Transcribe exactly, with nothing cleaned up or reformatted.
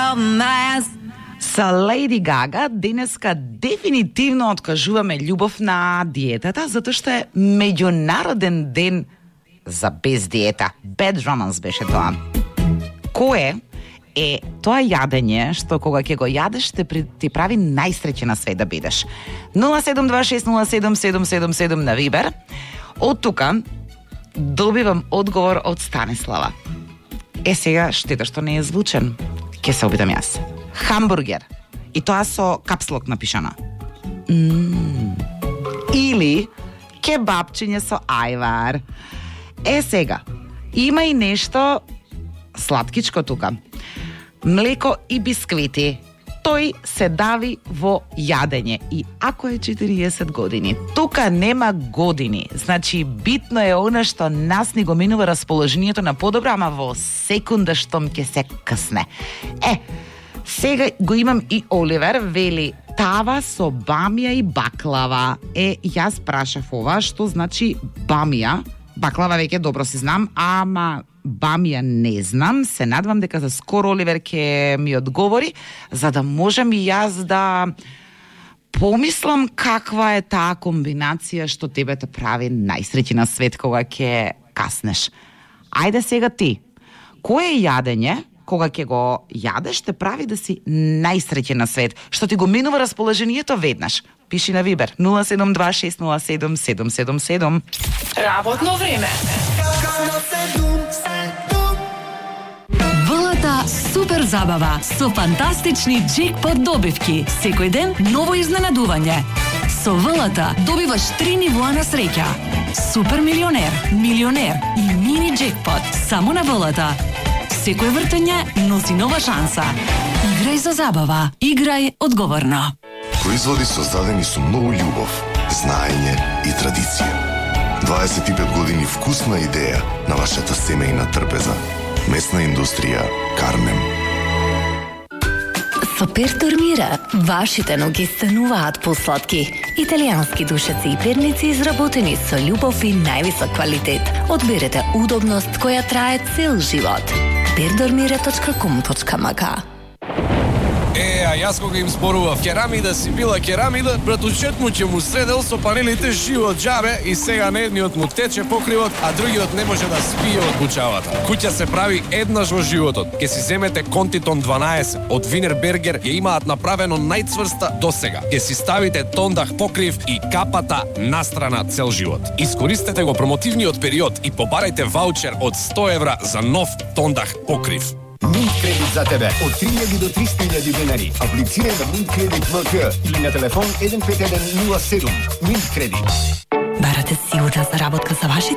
romance. Со Леди Гага денеска дефинитивно откажуваме љубов на диетата, затоа што е меѓународен ден за без диета. Bad romance беше тоа. Кое е тоа јадење што кога ќе го јадеш те ти прави најсреќен на свет да бидеш? нула седум два шест нула седум седум седум седум на Вибер. Од тука добивам одговор од Станислава. Е сега штета што не е звучен. Ке се обидам јас. Хамбургер. И тоа со капслок напишано. Mm. Или кебапчиње со ајвар. Е сега, има и нешто сладкичко тука. Млеко и бисквити. Тој се дави во јадење. И ако е четириесет години, тука нема години. Значи, битно е она што нас ни го минува расположението на подобро, ама во секунда штом ќе се късне. Е, сега го имам и Оливер, вели тава со бамија и баклава. Е, јас прашав ова, што значи бамија? Баклава веќе добро си знам, ама бамија не знам. Се надвам дека за скоро Оливер ќе ми одговори, за да можам и јас да помислам каква е таа комбинација што тебе те прави најсреќен на свет кога ќе каснеш. Ајде сега ти. Кое јадење кога ќе го јадеш те прави да си најсреќен на свет, што ти го минува расположението веднаш? Пиши на Вибер нула седум два шест нула седум седум седум седум. Работно време. ВЛТ супер забава со фантастични джекпот добивки. Секој ден ново изненадување. Со ВЛТ добиваш три нивоа на среќа. Супер милионер, милионер и мини джекпот само на ВЛТ. Секој вртење носи нова шанса. Играј за забава. Играј одговорно. Производи создадени со многу љубов, знаење и традиција. дваесет и пет години вкусна идеја на вашата семејна трпеза. Месна индустрија Кармем. Со Пертор Мира, вашите ноги стануваат посладки. Италијански душеци и перници изработени со љубов и највисок квалитет. Одберете удобност која трае цел живот. пердормира точка ком точка ма ка. Е, а јас кога им зборував керамида си била керамида, братучет му ќе му средел со панелите живо џабе и сега на едниот му тече покривот, а другиот не може да спие од бучавата. Куќа се прави еднаш во животот. Ке си земете Контитон дванаесет од Винербергер, ја имаат направено најцврста досега. Ке си ставите тондах покрив и капата настрана цел живот. Искористете го промотивниот период и побарајте ваучер од сто евра за нов тондах покрив. Mint кредит за тебе од три илјади до триста илјади денари. Аплицирај на Mint кредит МК или на телефон еден пет еден нула седум. Mint кредит. Барате сигурна заработка за вашите